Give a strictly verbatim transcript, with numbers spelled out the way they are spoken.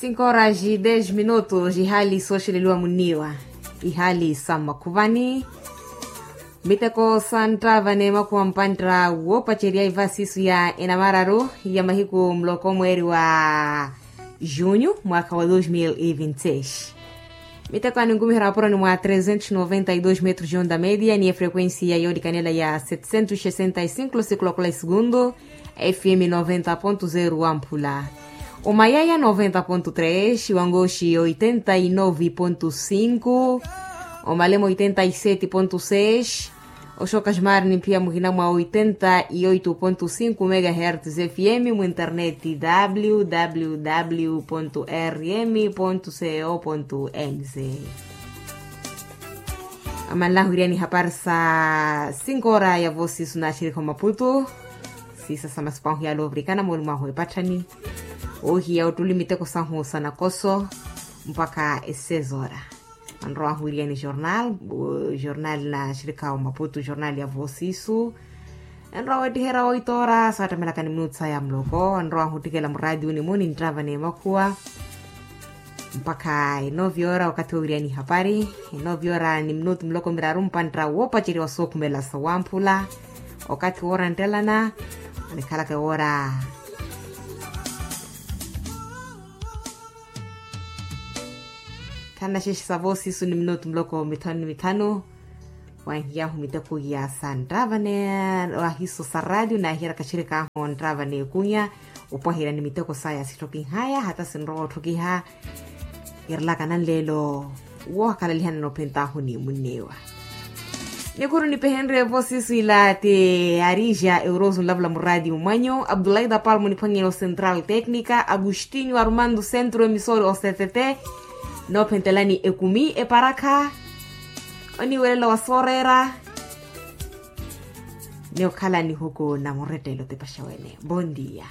Cinco horas e dez minutos ihaali sooxeleliwa munniiwa. Ihaali sa mmakhuvani. Miteko sa nttava n'emakhuwa mpantta woopacerya iva siisu ya enamararu ya mahiku muloko mweeri wa junho mwaakha wa dois mil e vinte e seis. Miteko aninkumiherya mapuroni mwa trezentos noventa e dois metros de onda media ni efrequencia yoolikanela ya setecentos sesenta e cinco losikulo kula esugundu. F M noventa ponto zero wamphula. Omayaya noventa ponto tres, wangoxi oitenta e nove ponto cinco, omalemo oitenta e sete ponto seis, oxoka ximari ni mphiya muhina mwa oitenta e oito ponto cinco megahertz F M mu internet w w w ponto r m ponto c o ponto n z. Amanlahu iriyani hapari sa cinco hora ya vosi suna axirikha omaputu. Siisa sa masipahu yalovirikana mooli mwahu epatthani. Ohiya ottuli miteko sahu sa nakoso mpakha esezora. Anrowahu iriyani jornal jornal na axirikha omaputu jornal ya vosi isu. Enrowa wettiherya oito hora saattamelaka ni minutu saya muloko anrowahu ottikela muraatiuni muni nttava n'emakhuwa. Mpakha enovi hora okathi wowiriyani hapari. Enovi hora ni minutu muloko miraru mpantta woopaceriwa sookhumela sa wamphula. Okathi woora nttelana onikhalaka ewoora. Khanaxexe sa vosi isu ni minutu muloko mithanu ni mithanu. Wanhiyahu miteko ya sa nttava n'ahiso sa raatiyo naahiyeryaka axirikaahu nttava n'ekunya. Opwaherya ni miteko saya sittokinhaya hata sinrowa otthokiha. Kirelaka nanleelo woohakhalaliha nanophentahu ni munneewa. Nikuru nipehenrye vosi isu ila ti arija euroso nlavula muraatiyo mwanyu abdulaida palmo niphwanyeni o central tecnica agustinho armando centro emisori o c t t. Noophentelani ekumi eparakha oniwelela wa sooreera. Ni okhala nihuku na murettelo tipaxa wene. Bon dia.